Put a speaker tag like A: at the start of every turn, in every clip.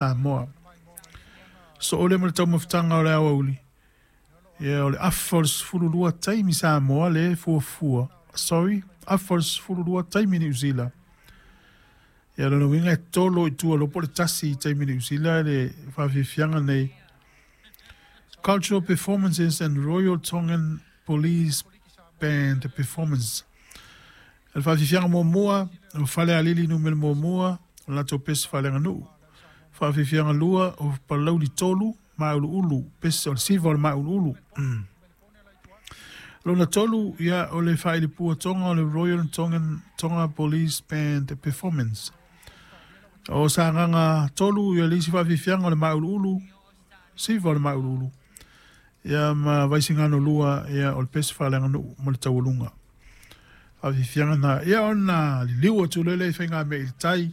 A: Samoa. Soo lea ma le taumafataga o le aoauli, ia o le afa o le 12 taimi Samoa le fuafua, sorry, afa o le 12 taimi Niu Sila. Ia lona uiga e tolo i tua loa po o le tasi i taimi Niu Sila le faafiafiaga nei. Cultural Performances and Royal Tongan Police Band Performance. O le faafiafiaga muamua, o Falealili numera muamua, o le latou pese faaleaganuu. Faafiafiaga lua, o Palauli 3, Mauluulu, pese o le siva o le Mauluulu. Lona tolu, ia, o le faailipua Tonga o le Royal Tongan Tonga Police Band Performance. O Sagaga 3, ia le isi faafiafiaga o le Mauluulu, siva o le Mauluulu. Ia ma Vaisigano 2, ia o le pese faaleaganuu ma le taualuga. Faafiafiaga na, ia ona liliu atu lele i faigamea i le tai,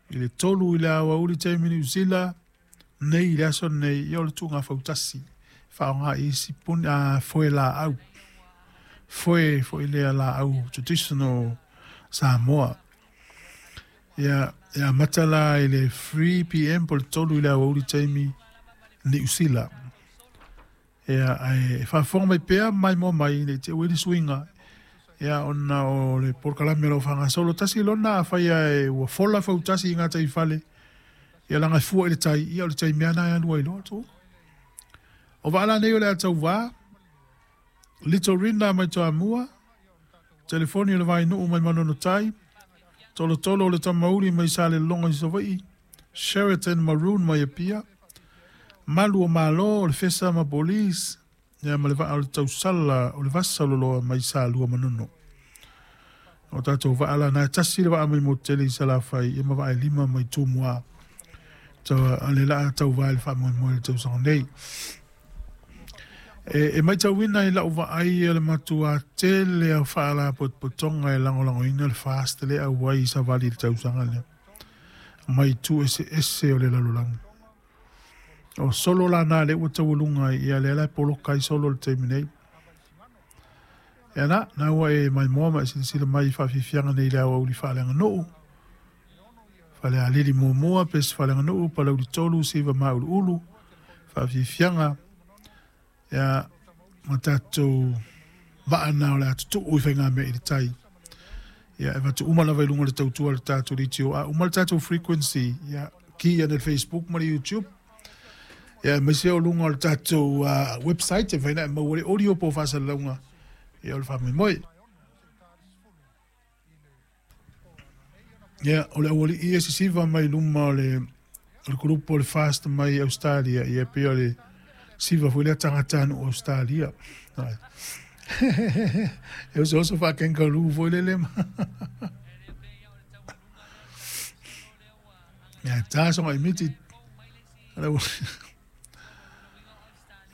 A: i le 3 i le aoauli taimi Niu Sila, nei i le aso nei, ia o le tuuga fautasi, faaaoga i isi puni, a, foe laau, foe foi lea laau traditional Samoa. Ia, e amata la i le 3 pm po o le 3 i le aoauli taimi Niu Sila. Ia, ae faafofoga mai pea maimoa mai nei te ua i le suiga. Ia, ona o le polokalame o lo o faagasolo tasi lona afai ae ua fola fautasi i gataifale, ia laga e fua i le tai, ia o le taimi lava lena e alu ai loa tuu. O vaa la nei o le a tauvā, Little Rina mai Toamua, telefoni o le Vainuu mai Manono Tai, Tolotolo o le Tamauli mai Salelologa i Savaii, Sheraton Maroon mai Apia, Malu o Malo o le Fesa ma Police, ia ma le vaa o le Tausala o le Vasaloloa mai Salua Manono. O tatou vaa la na e tasi le vaa mai Motutele i Salafai, ia ma vaa e lima mai Tumua. Tau le laa tauvā i le faamoemoe i le tausaga nei. E matauina i lau vaai o le matua tele o faalapotopotoga e lagolagoina le FAST le auai i savali i le tausaga lea mai itu eseese o le lalolagi. O solo la na le ua taualuga ai, ia lea la e poloka ai solo le taimi nei. Ia na, na ua e maimoa ma e silasila mai i faafiafiaga nei i le aoauli faaleaganuu. Falealili muamua, pese faaleaganuu, Palauli 3, Siva Mauluulu, faafiafiaga, ia, ma tatou vaa na o le a tutuu i faigamea i le tai. Ia, e avatu uma lava i luga o le tautua a le tatou DTO. A uma le tatou frequency, ia, ki ane le Facebook ma le YouTube. Ia, aemaise o luga o le tatou website, e mafai ona e maua le audio po o faasalalauga, ia, o le faamoemoe. Ia, o le aualii e sisiva mai luma o le group o le FAST mai Australia, ia pei o le siva foi lea tagatanuu Australia. E osooso faa-kangaroo foi lele ma. Ia, tā songa i miti.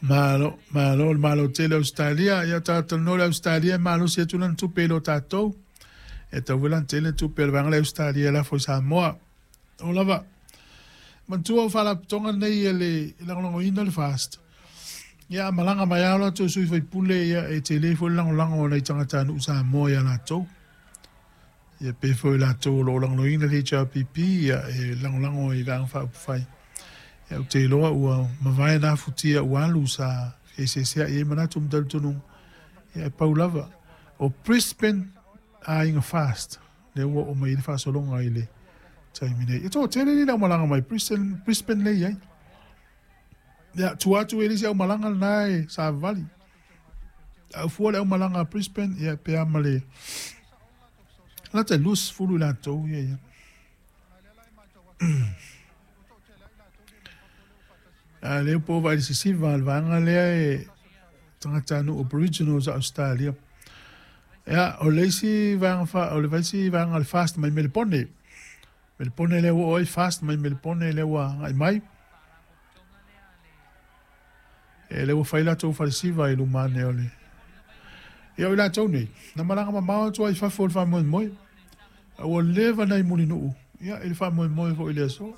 A: Malo, malo, le malo tele Australia. Ia tātou le Australia e malosi atu lana tupe i lo tātou. E tau foi lana tele tupe o le vaega lea Australia e lafo i Samoa. O lava, manatua o faalapotopotoga nei e le lagolagoina le FAST. Ia, a malaga mai lava o latou sui faipule, ia e tele foi le lagolago o nai tagatanuu Samoa ia latou. Ia pe foi latou o lo o lagolagoina le HRPP, ia e lagolago i Vaega Faaupufai. Ia ou te iloa ua mavae na futia ua alu sa feeseesea'i ai manatu ma talitonuga. Ia e pau lava. O Brisbane aiga FAST, lea ua oo mai ai le faasologa i le taimi nei. E toatele nei le aumalaga mai Brisbane, Brisbane lea e i ai. Ia, tua atu e le isi aumalaga lena e savavali. A fua le aumalaga a Brisbane, ia pe a ma le lata i 20 i latou ia ia. A lea po o vaai le sisiva a le vaega lea e tagatanuu Aboriginals a Australia. Ia, o le isi vaega fa, o le isi vaega o le FAST mai Melepone. Melepone lea ua oo ai FAST mai Melepone lea ua agai mai. E lea ua fai latou falesiva i luma ane o le. Ia o i latou nei, na malaga mamao atu ai i fafo i le faamoemoe. A ua leva nai mulinuu, ia i le faamoemoe foi i le aso.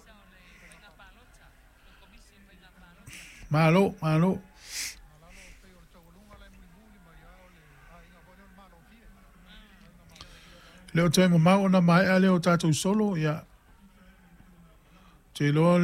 A: Malo, malo. Le o toe mamao ona maea lea o tatou solo, ia. Te iloa le